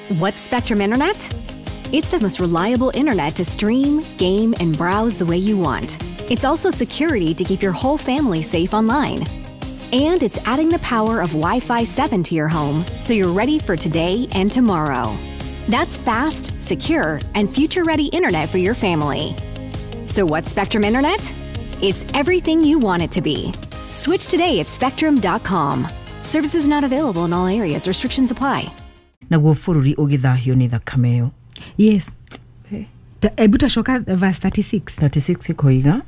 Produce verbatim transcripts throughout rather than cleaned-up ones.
What's Spectrum Internet? It's the most reliable internet to stream, game, and browse the way you want. It's also security to keep your whole family safe online. And it's adding the power of Wi-Fi seven to your home so you're ready for today and tomorrow. That's fast, secure, and future-ready internet for your family. So what's Spectrum Internet? It's everything you want it to be. Switch today at spectrum dot com. Services not available in all areas. Restrictions apply. Naguo bũrũri ũgĩthahio nĩ thakame ĩyo. Yes. Ebu tacoka verse thirty-six. thirty-six ĩkoiga,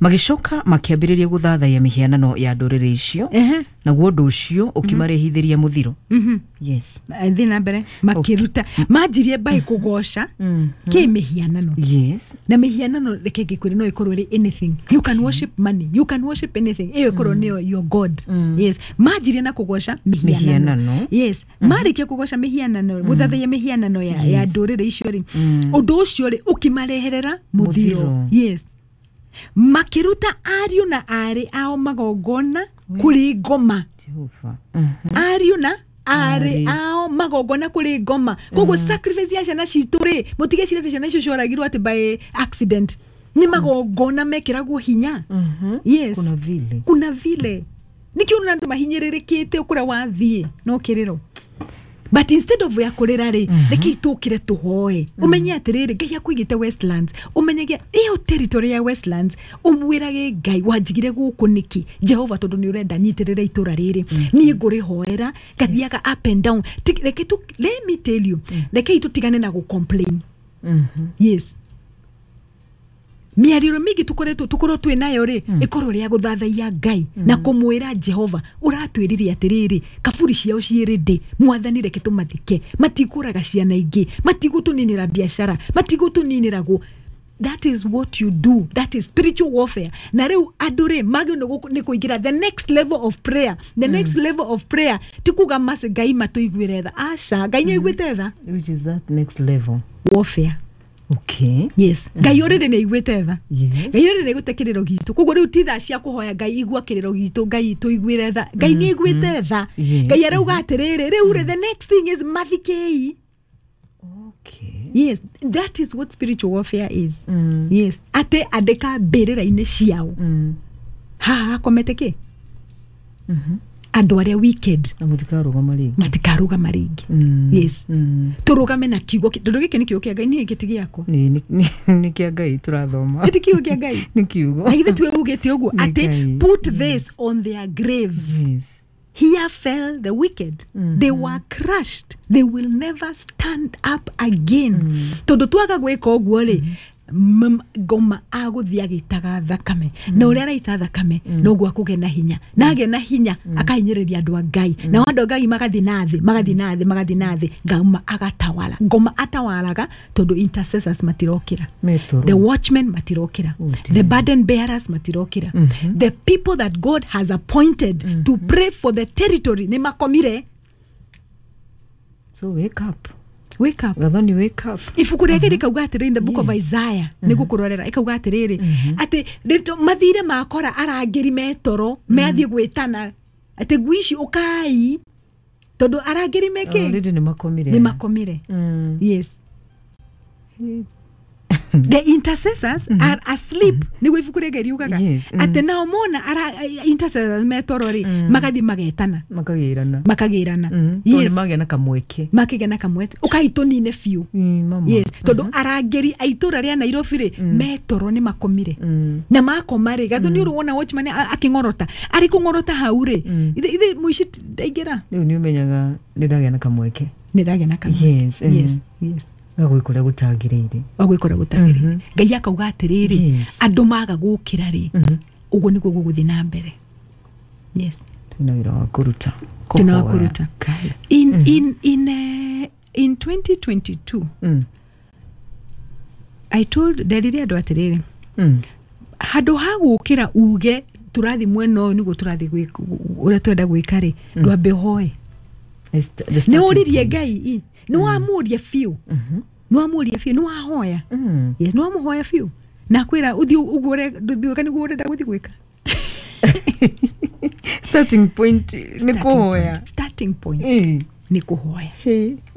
magĩcoka makĩambĩrĩria gũthathaiya mĩhianano ya ndũrĩrĩ icio, naguo ũndũ ũcio ũkĩmarehithĩria mũthiro. Yes. Thiĩ na mbere. Makĩruta manjirie mbaĩ kũgoca kĩ mĩhianano. Yes. Na mĩhianano, reke ngĩkwĩre, no ĩkorwo ĩrĩ anything. You can worship money, you can worship anything, ĩyo ĩkorwo nĩyo your god. Yes, manjirie na kũgoca mĩhianano. Mĩhianano. Yes, marĩkia kũgoca mĩhianano, gũthathaiya mĩhianano ya, ya ndũrĩrĩ icio rĩ, ũndũ ũcio rĩ ũkĩmareherera mũthiro. Mũthiro. Yes, makĩruta ariũ na arĩ ao magongona kũrĩ ngoma. Jehova. Mhm. Ariũ na arĩ Arĩ. ao magongona kũrĩ ngoma. Koguo sacrifice ya ciana citũ rĩ, mũtigecire atĩ ciana icio cioragirwo atĩ by accident, nĩ magongona mekĩragwo hinya. Yes. Kuna vile. Kuna vile nikio ũrona andũ mahinyĩrĩrĩkĩte kũrĩa wathiĩ no kĩrĩro, but instead of ya kũrĩra rĩ, rekei tũkĩre tũhoe. Ũmenye atĩrĩrĩ, Ngai akũigĩte Westlands, ũmenyage ĩyo territory ya Westlands, ũmwĩrage Ngai, wanjigire gũkũ nĩkĩ, Jehova? Tondũ nĩ ũrenda nyitĩrĩre itũra rĩrĩ, niĩ ngũrĩhoera ngathiaga up and down. Ti- reke tu, let me tell you, rekei tũtigane na gũ-complain. Yes, mĩario mĩingĩ tũkoretwo tũkorwo twĩ nayo rĩ, ĩkorwo rĩa gũthathaiya Ngai na kũmwĩra Jehova, ũratwĩrire atĩrĩrĩ, kaburi ciao ciĩrĩ ndĩ, Mwathani, reke tũmathike, matikũraga ciana ingĩ, matigũtũninĩra biacara, matigũtũninĩra gũ. That is what you do. That is spiritual warfare. Na rĩu andũ rĩ magĩrĩirwo nĩ gũ- nĩ kũingĩra the next level of prayer. The next level of prayer ti kuga maci Ngai matũiguĩre tha. Aca, Ngai nĩ aiguĩte tha. Which is that next level? Warfare. Okay. Yes, Ngai already nĩ aiguĩte tha. Yes. Ngai already nĩ aiguĩte kĩrĩro gitũ, koguo rĩu ti thaa cia kũhoya Ngai igua kĩrĩro gitũ, Ngai tũiguĩre tha. Ngai nĩ aiguĩte tha. Yes. Ngai arauga atĩrĩrĩ, rĩu rĩ, the next thing is mathikei. Okay. Yes, that is what spiritual warfare is. Yes, atĩ andĩka mbĩrĩra-inĩ ciao Mm. haha hakomete kĩ andũ arĩa wicked. Na mũtikarũgama rĩngĩ. Matikarũgama rĩngĩ. Mm. Yes. Mm. Tũrũgame na kiugo kĩ- tondũ gĩkĩ nĩ kiugo kĩa Ngai, niĩ gĩkĩ ti gĩakwa. Nĩ nĩ- nĩ- nĩ kĩa Ngai tũrathoma. Nĩ ti kiugo kĩa Ngai? Nĩ kiugo. Na githĩ tiwe ugĩte ũguo Nĩ atĩ Ngai. put this on their graves? Yes. Here fell the wicked, they were crushed, they will never stand up again. Tondũ twaga gwĩka ũguo rĩ, m- ngoma agũthiĩ agĩitaga thakame, na ũrĩa araita thakame noguo akũgĩa na hinya, na agĩa na hinya akahinyĩrĩria andũ a Ngai, nao andũ a Ngai magathiĩ na thĩ, magathiĩ na thĩ, magathiĩ na thĩ. Ngoma agatawala, ngoma atawalaga tondũ intercessors matirokĩra. Metoro. The watchmen matirokĩra. Oh, dear. The burden bearers matirokĩra. The people that God has appointed to pray for the territory nĩ makomire. So wake up. Wake up. Gathoni, wake up. Ibuku rĩa Ngai rĩkauga atĩrĩrĩ, in the Book of Yes. Isaiah, nĩ gũkũrorera, ĩkauga atĩrĩrĩ atĩ rĩtũ- mathire makora arangĩri metoro mathiĩ gwĩtana atĩ ngui ici ũkai, tondũ arangĩri mekĩ? Already nĩ makomire. Nĩ makomire. Mm. Yes, the intercessors are asleep, nĩguo ibuku rĩa Ngai riugaga. Yes, mm. Atĩ nao mona ara intercessors metoro rĩ, magathiĩ magetana. Makagĩrana. Makagĩrana. Mm. Tondũ Yes. nĩ magĩa na kamweke. Makĩgĩa na kamwete, ũkai tũnine biũ. Mm, mama. Yes, tondũ arangĩri a itũra rĩa Nairobi rĩ metoro, nĩ makomire. Mm. Na makoma rĩ, gathu nĩ ũrĩ wona watchman a- akĩng'orota, arĩ kũng'orota hau rĩ, ithe ithe mũici ndaingĩra. Rĩu nĩ ũmenyaga nĩ ndagĩa na kamweke. Nĩ ndagĩa na kamweke. Yes, mm. yes yes Gagwĩka ũrĩa gũtagĩrĩire. Wagwĩka ũrĩa gũtagĩrĩire. Ngai akauga atĩrĩrĩ, Yes. andũ maga gũkĩra rĩ, ũguo nĩguo gũgũthiĩ na mbere. Yes. Twĩna wĩra wa kũruta. Twĩna wa Kũhoya. kũruta. Ngai. in in in uh, in twenty twenty-two, Mm. I told, nderire andũ atĩrĩrĩ, Mm. handũ ha gũkĩra uge tũrathiĩ mwena ũyũ nĩguo tũrathiĩ gwĩka ũrĩa twenda gwĩka rĩ, ndwambe ũhoe. The st- the Nĩ starting ũririe point. Ngai i, nĩ wamũria biũ, nĩ wamũria biũ, nĩ wahoya. Mm. Yes, nĩ wamũhoya biũ na kwĩra ũthiĩ ũguo ũre- gwĩka nĩguo ũrenda gũthiĩ gwĩka. Starting point nĩ Starting kũhoya. point. Starting point Eh. nĩ kũhoya. Hey.